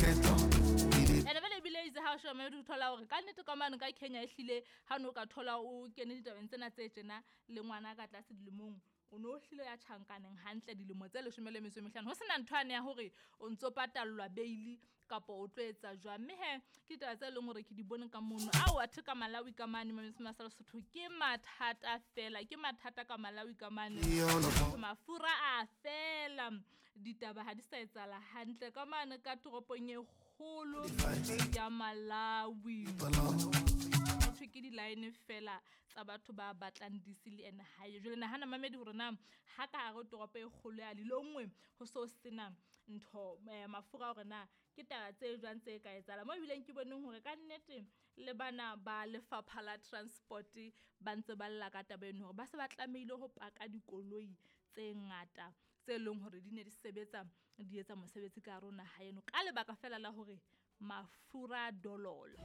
Keto. Ene vele ebile itse ha o sheba maybe o thola hore ka nnete ka mane ka Kenya ehlile ha no ka thola o kene ditabeng tsena tse tjena le ngwana ka tlase dilemong, o no hlile ya tjhankaneng hantle dilemo tse 15 ho sena ntho yane ya hore o ntso patallwa bail kapa o tlo etsa jwang. Mme hee ke ditaba tse leng hore ke di bone ka mono. Ao athe ka Malawi ka mane Mametse sa Lesotho ke mathata fela, ke mathata ka Malawi ka mane. Mafura a fela, ditaba ha di sa etsahala hantle ka mane ka toropong e kgolo ya Malawi. Hothwe ke di-line fela tsa batho ba batlang diesel and hae. Jwale nahana mamedi hore na ha ka hare ho toropo e kgolo ya Lilongwe ho so sena ntho mafura hore na ke taba tse jwang tse ka etsahala. Mo ebileng ke boneng hore ka nnete le bana ba lefapha la transport ba ntse ba lla ka taba eno hore ba se ba tlamehile ho paka dikoloi tse ngata tse leng hore di ne di sebetsa di etsa mosebetsi ka hare ho naha eno ka lebaka fela la hore mafura dololo.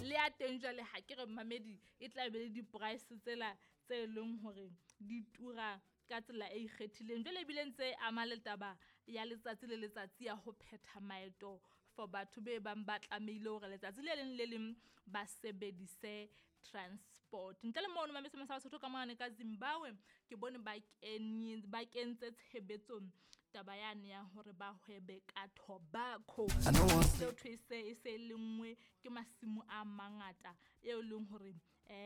Le ya teng jwale ha ke re mamedi e tla be le di-price tsela tse leng hore di tura ka tsela e ikgethileng. Jwale ebile ntse ama le taba ya letsatsi le letsatsi ya ho phetha maeto for batho be bang ba tlamehile hore letsatsi le leng le leng ba sebedise transport. Ntle le mono Mametse sa Basotho ka mane ka Zimbabwe ke bone ba kentse tshebetsong taba yane ya hore ba hwebe ka tobacco. Seo thwe e se e se lengwe ke masimo a mangata eo leng hore